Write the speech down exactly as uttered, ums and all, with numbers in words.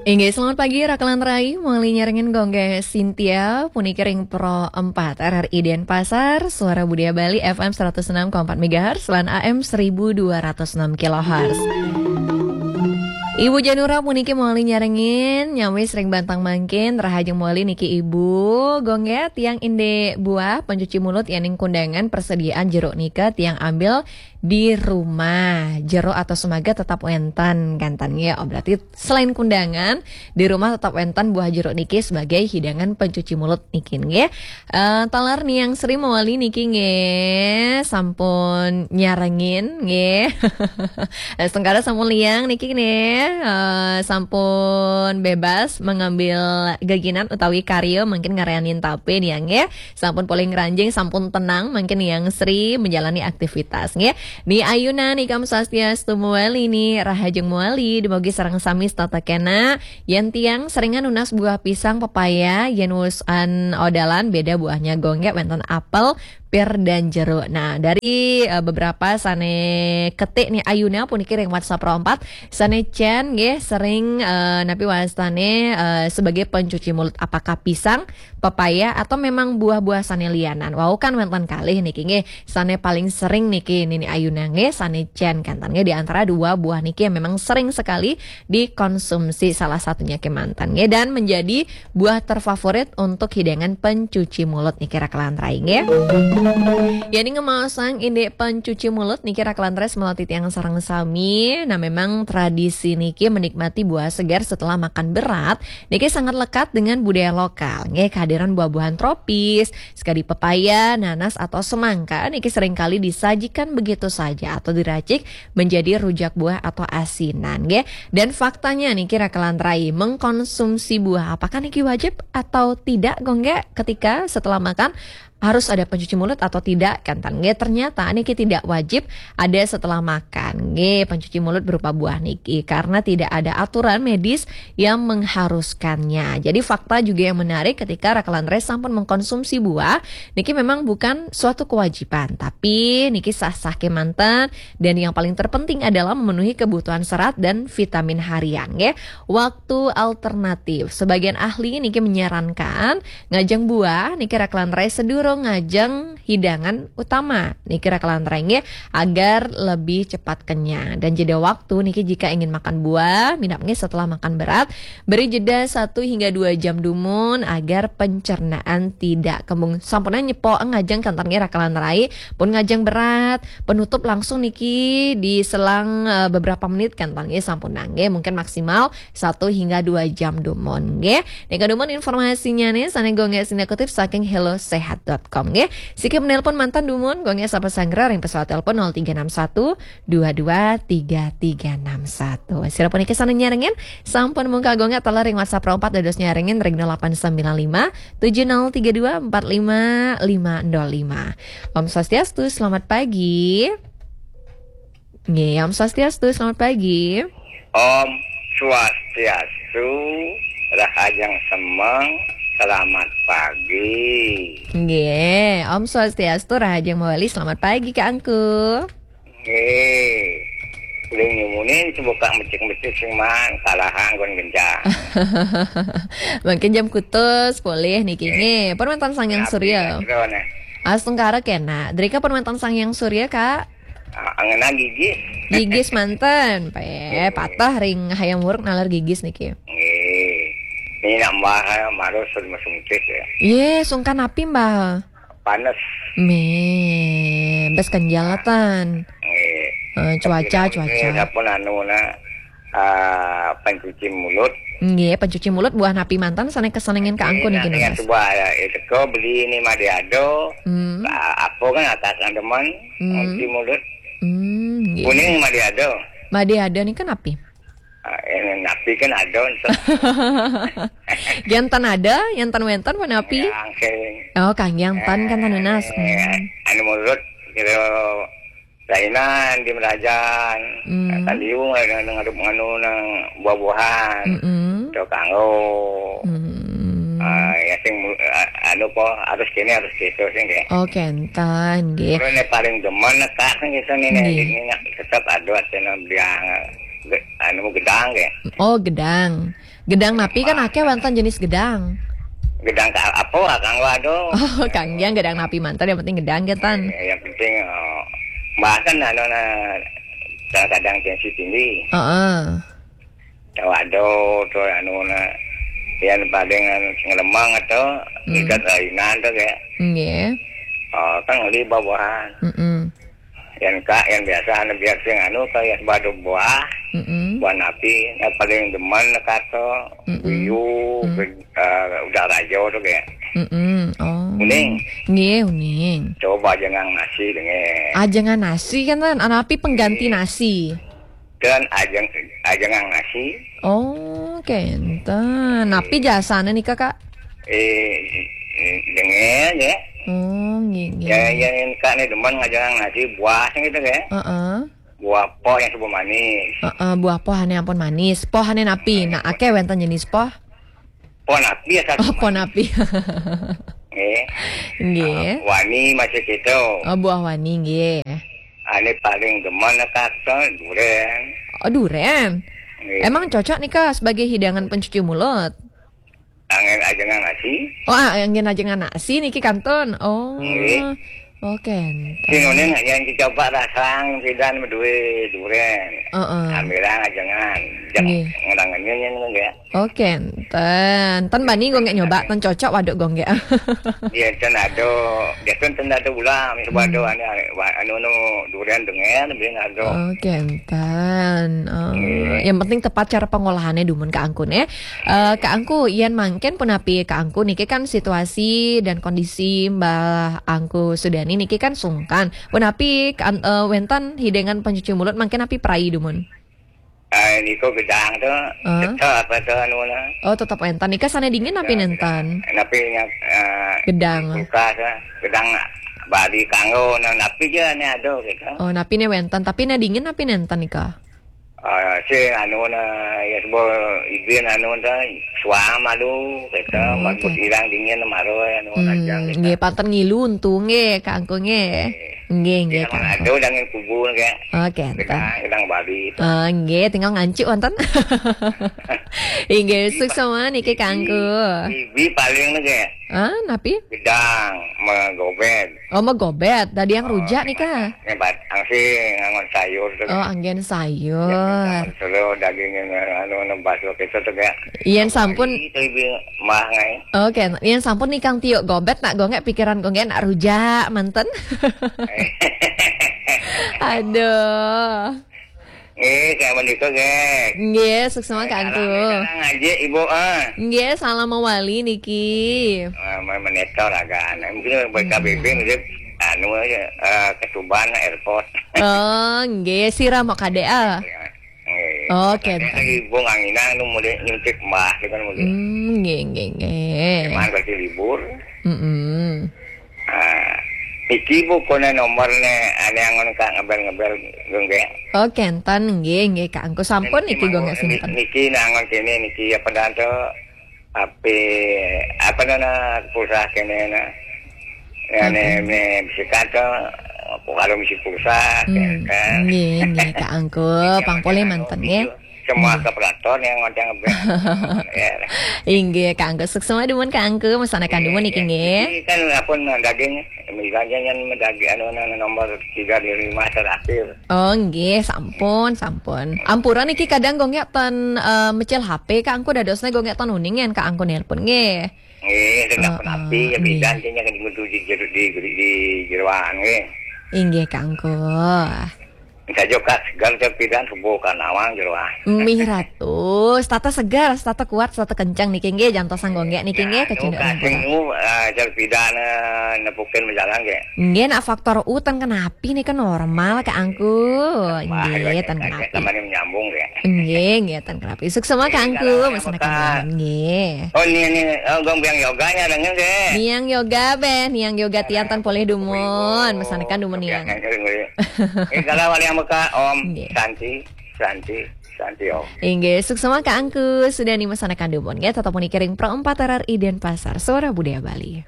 Inggih, selamat pagi, Rakelan Rai. Muli nyarengin Gongge Sintia, puniki ring Pro empat R R I Denpasar, Suara Budaya Bali F M seratus enam koma empat megahertz lan A M seribu dua ratus enam kilohertz. Ibu Janura puniki muli nyarengin, nyawis ring bantang mangkin, rahajeng muli niki Ibu. Gongge, tiang indik buah pencuci mulut yening kundangan persediaan jeruk nika tiang ambil di rumah. Jeruk atau semangka tetap wenten, kanten nggih. Oh, berarti selain kundangan, di rumah tetap wenten buah jeruk niki sebagai hidangan pencuci mulut niki nggih. Eh, taler Niang Sri mawali niki nggih, sampun nyarengin nggih. Setengkara sampun liang niki nggih, eh, sampun bebas mengambil geginan utawi karya mangkin ngarayanin tape nih nggih. Sampun polih ngranjing, sampun tenang mangkin Niang Sri menjalani aktivitas nggih. Ni Ayuna nika Om Swastiastu mawali ni, rahajeng mawali, dumugi sareng sami setata kena. Yen tiang seringan nunas buah pisang, pepaya, yen wusan odalan beda buahnya Gongge, wenten apel, pir dan jeruk. Nah, dari, eh, beberapa sane ketik nih Ayuna puniki ring WhatsApp Pro empat, sane cen nggih sering, eh, napi wastane, eh, sebagai pencuci mulut, apakah pisang, pepaya, atau memang buah-buah sane lianan. Wau kan wenten kalih niki nggih, sane paling sering niki Nini Ayuna nggih, sane cen kanten nggih di antara dua buah niki yang memang sering sekali dikonsumsi, salah satunya kemanten nggih, dan menjadi buah terfavorit untuk hidangan pencuci mulut niki Rakelan Rai nggih. Yani ngemaosang indik pencuci mulut niki Rakelan Rai semeton titiang sareng sami. Nah, memang tradisi niki menikmati buah segar setelah makan berat niki sangat lekat dengan budaya lokal nggih. Kehadiran buah-buahan tropis, sekadi pepaya, nanas, atau semangka niki seringkali disajikan begitu saja atau diracik menjadi rujak buah atau asinan nggih. Dan faktanya niki Rakelan Rai, mengkonsumsi buah apakah niki wajib atau tidak Gongge, ketika setelah makan harus ada pencuci mulut atau tidak, kanten nggih? Ternyata niki tidak wajib ada setelah makan nggih, pencuci mulut berupa buah niki, karena tidak ada aturan medis yang mengharuskannya. Jadi fakta juga yang menarik ketika Rakelan Rai sampun mengkonsumsi buah niki memang bukan suatu kewajiban, tapi niki sah-sah kemanten, dan yang paling terpenting adalah memenuhi kebutuhan serat dan vitamin harian nggih. Waktu alternatif. Sebagian ahli niki menyarankan ngajeng buah niki Rakelan Rai sedurung ngajeng hidangan utama niki Rakelan Rai nggih, agar lebih cepat kenyang. Dan jeda waktu niki jika ingin makan buah, minab nggih setelah makan berat, beri jeda satu hingga dua jam dumun agar pencernaan tidak kembung. Sampunang nyepok ngajeng kanten nggih Rakelan Rai, pun ngajeng berat, penutup langsung niki di selang, eh, beberapa menit kanten nggih, sampunang nggih, mungkin maksimal satu hingga dua jam dumun nggih. Nika dumun informasinya nih, sane Gongge sine kutip saking hello sehat dot com nggih. Siki menelpon manten dumun, Gongge sapa sanggra ring pesawat telepon nol tiga enam satu dua dua tiga tiga enam satu. Sira puniki sane nyarengin, sampun mungkal Gongge taler ring WhatsApp Pro empat dados nyarengin ring nol delapan sembilan lima tujuh nol tiga dua empat lima lima nol lima. Om Swastiastu, selamat pagi. Nggih, Om Swastiastu, selamat pagi. Om Swastiastu, rahajeng semeng, selamat pagi. Nggih, Om Swastiastu, rahajeng mawali, selamat pagi, Kak Angku. Nggih. Uling nyumunin, sebuka mecik-mecik sing man, kalahan kon genjang. Mungkin jam kutus, polih niki. Nggih. Nggih, pun wenten Sang Hyang Surya. Astungkara kena. Drika pun wenten Sang Hyang Surya, Kak. Ah, ngena gigis. Gigis manten, pe, patah ring hayam wuruk nalar gigis niki. Nggih. Ini nak Mbah, eh, marus sudah masungkis ya. Ye, sungkan api, Mbah? Panas. Me, bes kenjal tan. Nggih. Eh, cuaca, cuaca. Sampun anu na, eh, pencuci mulut. Nggih, pencuci mulut buah napi manten sane kesenengin Kak Angku niki, Mas. Sebuah, eh, teko beli ini Made Ado. Hmm. Lah, apa kan atas demen, hmm, pencuci mulut. Hmm, nggih. Kuning Made Ado. Made Ado nika napi? Ah, eh, napi kan ada. Jantan ada, jantan wenten pun napi? Yang sing, oh, kangge jantan kan, eh, nunas. Hmm. Anu mulut kira lainan di Merajan. Hmm. Taliung ada ngadep nganu nang buah-buahan. Mm-mm. Itu kanggo. Hmm. Ah, ya sing mu-, ah, anu po harus kene harus gitu sing kayak. Oh, kenten nggih. Terus ini paling demen nekak gitu nih, nih, nggih. Ini nak tetap ada sing bilang. Ge- anu gedang ge. Oh, gedang. Gedang napi kan akeh wonten jenis gedang. Gedang ka apa, Kang? Waduh. Oh, Kang Yang gedang napi manten, yang penting gedang ge, Tan. Eh, yang penting, eh, bahkan anu na kadang-kadang tensi tinggi. Heeh. Waduh, tuh anu na yang paling anu ngelemang atau Hmm. Ikat lainan tuh kayak. Nggih. Oh, kan ngeli bawahan. Mm-mm. Yang ka, yang biasa anu biar sing anu kayak badu buah, Mm-mm. Buah napi, yang paling demen kato, Mm-mm. Buyu, Mm. Ge- eh, udah rajo tuh kayak. Mm-mm. Oh. Uning. Nggih, uning. Coba ajengang nasi dengan. Ajengang nasi kan, Tan? Anapi pengganti Iya. Nasi? Dan ajeng ajengang nasi. Oh, kenten. Napi jasane nika, Kak? Eh, eh, dengan ya. Oh, nggih, nggih. Ya, ya, yang Kak ni demen ngajengang nasi buah gitu ya. Heeh. Buah poh yang sebelum manis. Heeh, buah poh ane ampun manis. Poh ane napi? Nah, akeh wonten jenis poh. Poh napi ya, Oh, poh napi. Nggih. Nggih. Ah, wani masih gitu. Oh, buah wani nggih. Ane paling demen kata duren. Oh, duren. Nggih. Emang cocok nih, Kak, sebagai hidangan pencuci mulut? Angin ajengang nasi. Oh, ah, angin ajengang nasi niki kantun. Oh. Nggih. Oke. Sing uning yang dicoba rasang pidan duwe duren. Heeh. Ambilang ajengan. Jeng Nggih. Ngerangennya nyen nggih. Oke, ten. Ten bani gue nggak nyoba, ten cocok waduk gue nggak. Iya, ten ada. Dia kan ten ada ulang. Coba Hmm. ada anu, anu, anu duren dengan, bin ada. Oke, ten. Oh, Nggih. Yang penting tepat cara pengolahannya dumun Kak Angku nih. Eh, Kak Angku, yen mangkin punapi Kak Angku niki kan situasi dan kondisi Mbah Angku Sudani niki kan sungkan. Punapi kan, eh, wenten hidangan pencuci mulut mangkin api prai dumun? Eh, niku gedang tuh, Hah? Tetep apa tuh anu lah. Oh, tetep wenten. Nika sane dingin api nenten? Napi nya, eh, Gedang. Kulkas lah. Gedang badi kanggo, nah, napi je ane ada gitu. Oh, napi ne wenten. Tapi ne dingin api nenten nika? Ah, si anu na, ya sebab ibin anu ta, suam alu, kita Oh, marbut oke. Hilang dingin maro anu Hmm, aja kita. Nggih, panten ngilu untung nggih, Kak Angku nggih. Nggih, nggih, Kak Angku. Ada udah ngin kubur kayak. Oke, Kita, enten. Kita bali itu. Ah, nggih, tinggal ngancik wonten. Inggih, suksma niki Kak Angku. Ibi paling nih kayak. Ah, napi? Gedang, megobet. Oh, megobet. Tadi yang rujak nih, Kak. Ngebat, angsi ngangon sayur tuh. Oh, anggen sayur. Selo daging yang anu nembas waktu itu tuh kayak. Yen sampun Itu ibu mah ngai. Oke, yen sampun nih Kang Tio gobet nak gongek pikiran gongek nak rujak manten. Aduh. Eh, kayak menikah, gek. Nggih, suksma Kak Angku. Ngaji ibu ah. Nggih, salam mawali niki. Ah, menetor agak aneh. Mungkin buat Hmm. K B B mungkin anu aja, eh, ketuban airport. Oh, nggih, sira mau kadek ah. Nggih. Oke. Ibu nganginang nu mulai nyuntik mbah gitu kan mulai. Hmm, nggih, nggih, nggih. Cuman pasti libur. Mm-mm. Ah, iki bu kone nomor ne ane angon Kak ngebel-ngebel nggih. Oke, enten nggih, nggih Kak Angku sampun niki gongek simpen. Niki nangon kene niki apa dah tuh? Api apa dah na pulsa kene na. Ya ne Oke. me bisikan tuh aku kalau misi pulsa Hmm, kan. Nggih, nggih Kak Angku, pang polih manten nggih. Semua Nggih. Ke pelaton yang ngonceng ngebel. Ya. Inggih Kak Angku, suksma dumun Kak Angku, mesanakan dumun niki nggih. Ini kan apa daging misalnya yang daging anu nomor tiga di lima terakhir. Oh, nggih, sampun, sampun. Ampura niki kadang gongek ten, eh, mecil H P, Kak Angku dadosne gongek ten uning yen Kak Angku nelpon nggih. Nggih, sing Heeh, napi ya nggih. Beda sing yang di di di di jeroan nggih. Inggih, Kak Angku. Saja Kak segar saya pidan subuh kan awang jeroan. Mih ratus, tata segar, tata kuat, tata kencang niki nggih, jantosan gongek niki nggih, kecunduk kasing ampura. Nu, eh, saya pidan, eh, nepukin menjalan nggih. Nggih, nak faktor U ten kenapi nih kan normal Kak Angku. Wah, nggih, ten kenapi. Sama ini menyambung ya. Nggih, nggih, ten kenapi. Suksma Kak Angku, mesanakan dumun nggih. Oh, ini ini oh, gong biang yoga nya dengan nggih. Niang yoga beh, niang yoga tiang ten polih dumun, mesanakan dumun niang. Ini kalau wali yang meka Om Nggih. Santi, Santi, Santi Om. Inggih, suksma Kak Angku, sudah nih mesanakan dumun nggih, tetap muni kering pro empat R R I Denpasar, Suara Budaya Bali.